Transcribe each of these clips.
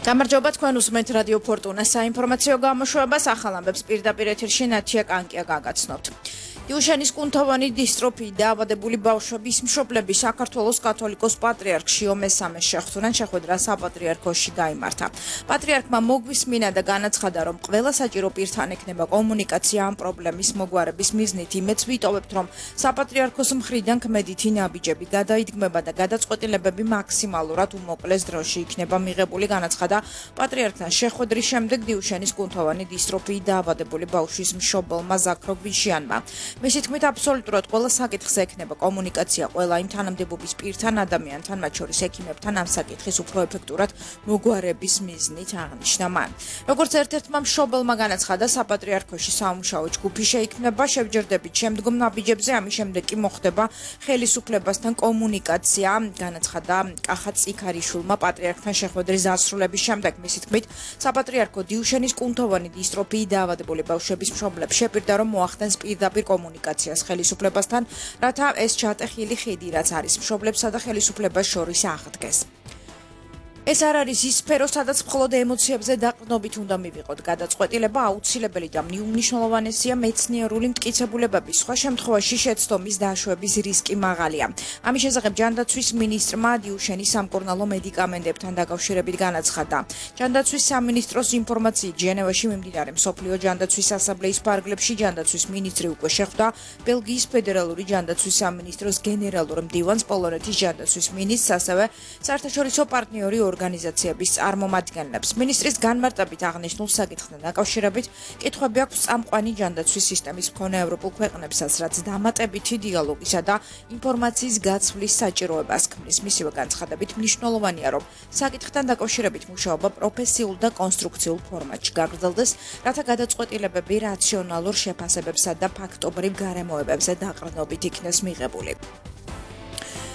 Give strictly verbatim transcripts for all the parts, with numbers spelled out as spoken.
გამარჯობა თქვენ უსმენთ რადიო ფორტუნა საინფორმაციო გამოშვებას ახალ ამბებს პირდაპირ ეთერში ნათია კანკია გაგაცნობთ. Iușenis კუნთოვანი დისტროფიით დაავადებული ბავშვების მშობლები საქართველოს კათოლიკოს პატრიარქში ომესამეს შეხვდნენ შეხვედრა საპატრიარქოში გაიმართა. პატრიარქმა მოგვისმინა და განაცხადა, რომ ყველა საჭირო პირთან ექნება კომუნიკაცია ამ პრობლემის მოგვარების მიზნით. იმეც ვიტოვებთ, რომ საპატრიარქოს მხრიდან ქმედითი ნაბიჯები გადაიდგმება და გადაწყვეტილებები მაქსიმალურად უმოკლეს დროში იქნება მიღებული, განაცხადა პატრიარქთან შეხვედრის შემდეგ დიუშენის კუნთოვანი დისტროფიით დაავადებული ბავშვის მშობელმა ზაქრო გვიშიანმა. მისი თქმით, აბსოლუტურად ყველა საკითხზე ექნება კომუნიკაცია ყველა იმ თანამდებობის პირთან, ადამიანთან, მათ შორის ექიმებთან ამ საკითხის უფრო ეფექტურად მოგვარების მიზნით აღნიშნა მან. როგორც ერთ-ერთმა მშობელმა განაცხადა, საპატრიარქოში სამუშაო ჯგუფი შეიქმნება, შევჯერდებით შემდგომ ნაბიჯებზე, ამის შემდეგ კი მოხდება ხელისუფლებასთან კომუნიკაცია, განაცხადა კახა წიქარიშვილმა პატრიარქთან შეხვედრის დასრულების შემდეგ. მისი თქმით, საპატრიარქო დიუშენის კუნთოვანი დისტროფიით დაავადებული ბავშვების მშობლებს შეპირდა, რომ მოახდენს პირდაპირ კომუნიკაციას ხელისუფლებასთან, რათა ეს ჩატეხილი ხიდი, რაც არის მშობლებსა და ხელისუფლებას შორის აღდგეს. ეს არ არის ის სფერო, სადაც მხოლოდ ემოციებზე დაყრდნობით უნდა მივიღოთ გადაწყვეტილება, აუცილებელი და მნიშვნელოვანესია მეცნიერული მტკიცებულებები. სხვა შემთხვევაში შეცდომის დაშვების რისკი მაღალია. ამის შესახებ ჯანდაცვის მინისტრმა დიუშენის სამკურნალო მედიკამენტებთან დაკავშირებით განაცხადა. ჯანდაცვის სამინისტროს ინფორმაციით, ჟენევაში მიმდინარე მსოფლიო ჯანდაცვის ასამბლეის ფარგლებში ჯანდაცვის მინისტრი უკვე შეხვდა ბელგიის ფედერალური ჯანდაცვის სამინისტროს გენერალურ მდივანს, პოლონეთის ჯანდაცვის მინისტრს, ასევე საერთაშორისო პარტნიორი ორგანიზაციების წარმომადგენლებს. მინისტრის განმარტებით აღნიშნულ საკითხთან დაკავშირებით კითხვები აქვს წამყვანი ჯანდაცვის სისტემის მქონე ევროპულ ქვეყნებსაც, რაც დამატებითი დიალოგისა და ინფორმაციის გაცვლის საჭიროებას ქმნის. მისივე განცხადებით მნიშვნელოვანია, რომ საკითხთან დაკავშირებით მუშაობა პროფესიულ და კონსტრუქციულ ფორმატში გაგრძელდეს, რათა გადაწყვეტილებები რაციონალურ შეფასებებსა და ფაქტობრივ გარემოებებზე დაყრდნობით იქნეს მიღებული.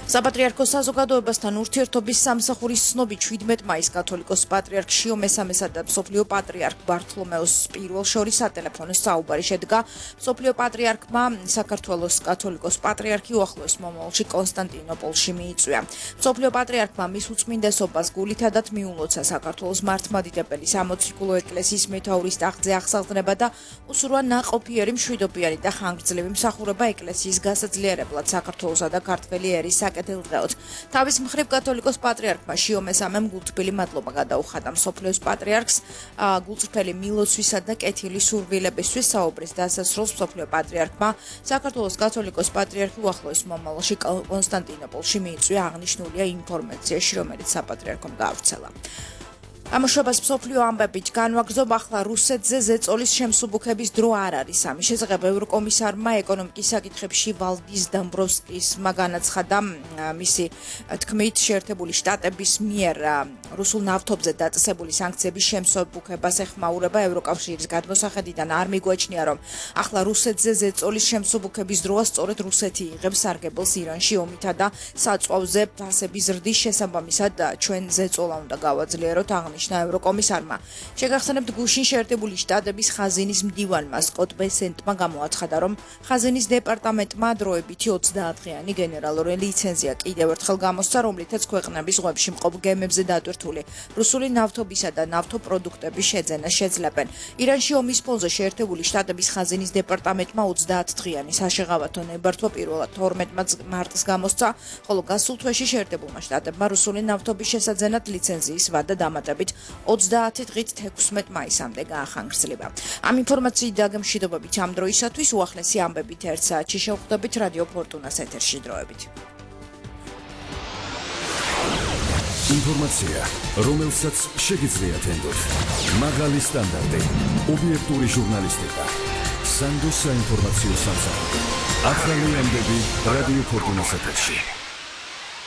საპატრიარქოს საზოგადოებასთან ურთიერთობის სამსახურის ცნობი შვიდმეტ მაისს კათოლიკოს პატრიარქ შიო მესამესა და მსოფლიო პატრიარქ ბართლომეოს პირველ შორის სატელეფონო საუბარი შედგა. მსოფლიო პატრიარქმა საქართველოს კათოლიკოს პატრიარქი უახლოეს მომავალში კონსტანტინოპოლში მიიწვია. მსოფლიო პატრიარქმა მის უწმინდესობას გულითადად მიულოცა საქართველოს მართლმადიდებელი სამოციქულო ეკლესიის მეთაურის ტახტზე აღსაყრდნება და უსურვა ნაყოფიერი მშვიდობიანი და ხანგრძლივი მსახურება ეკლესიის გასაძლიერებლად საქართველოსა და ქართველი ერის ელდღეოთ. თავის მხრივ კათოლიკოს პატრიარქმა შიო მესამემ გულთბილი მადლობა გადაუხადა მსოფლიოს პატრიარქს გულწრფელი მილოცვისა და კეთილი სურვილებისთვის. საუბრის დასასრულს მსოფლიო პატრიარქმა საქართველოს კათოლიკოს პატრიარქი უახლოეს მომავალში კონსტანტინოპოლში მიიწვია, აღნიშნულია ინფორმაციაში, რომელიც საპატრიარქომ გაავრცელა. ამოშვებას მსოფლიო ამბებით განვაგრძობ, ახლა რუსეთზე ზეწოლის შემსუბუქების დრო არ არის. ამის შესახებ ევროკომისარმა ეკონომიკის საკითხებში ვალდის დამბროვსკისმა განაცხადა, მისი თქმით, შეერთებული შტატების მიერ რუსულ ნავთობზე დაწესებული სანქციების შემსუბუქებას ეხმაურება. ევროკავშირის გადმოსახედიდან არ მიგვაჩნია, რომ ახლა რუსეთზე ზეწოლის შემსუბუქების დროა, სწორედ რუსეთი იღებს სარგებელს ირანში ომითა და საწვავზე ფასების ზრდის შესაბამისად ჩვენ ზეწოლა უნდა გავაძლიეროთ, აღნიშნა ევროკომისარმა. შეგახსენებთ, გუშინ შეერთებული შტატების ხაზინის მდივანმა სკოტ ბესენტმა გამოაცხადა, რომ ხაზინის დეპარტამენტმა დროებითი ოცდაათდღიანი გენერალური ლიცენზია კიდევ ერთხელ გამოსცა, რომლითაც ქვეყნების ზღვებში მყოფ გემებზე დატვირთული რუსული ნავთობისა და ნავთობპროდუქტების შეძენა შეძლებენ. ირანში ომის ფონზე შეერთებული შტატების ხაზინის დეპარტამენტმა ოცდაათდღიანი საშეღავათო ნებართვა პირველად თორმეტ მარტს გამოსცა, ხოლო გასულ თვეში შეერთებულმა შტატებმა რუსული ნავთობის შესაძენად ლიცენზიის ვადა დამატებით ოცდაათი დღით თექვსმეტ მაისამდე გაახანგრძლივა. ამ ინფორმაციით დაგემშვიდობებით ამ დროისათვის, უახლესი ამბებით ერთ საათში შევხვდებით რადიო ფორტუნას ეთერში დროებით. ინფორმაცია, რომელსაც შეგიძლიათ ენდოთ. მაღალი სტანდარტი, ობიექტური ჟურნალისტიკა. სანდოს საინფორმაციო სამსახური. ახალი ამბები რადიო ფორტუნას ეთერში.